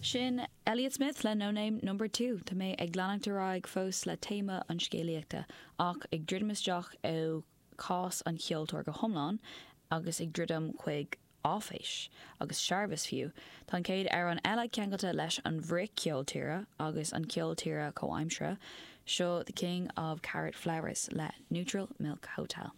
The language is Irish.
Sin Elliott Smith le No Name Number 2. Tá mé ag leanacht ar aghaidh fós le téama an scéalaíochta, ach ag druidim isteach ó chás an cheoltóir go hiomlán agus ag druidim chuig áiféis, agus searbhas fiú. Tá an chéad amhrán eile ceangailte leis an bhfrith-cheol tíre agus an ceol tíre comhaimseartha, seo The King of Carrot Flowers le Neutral Milk Hotel.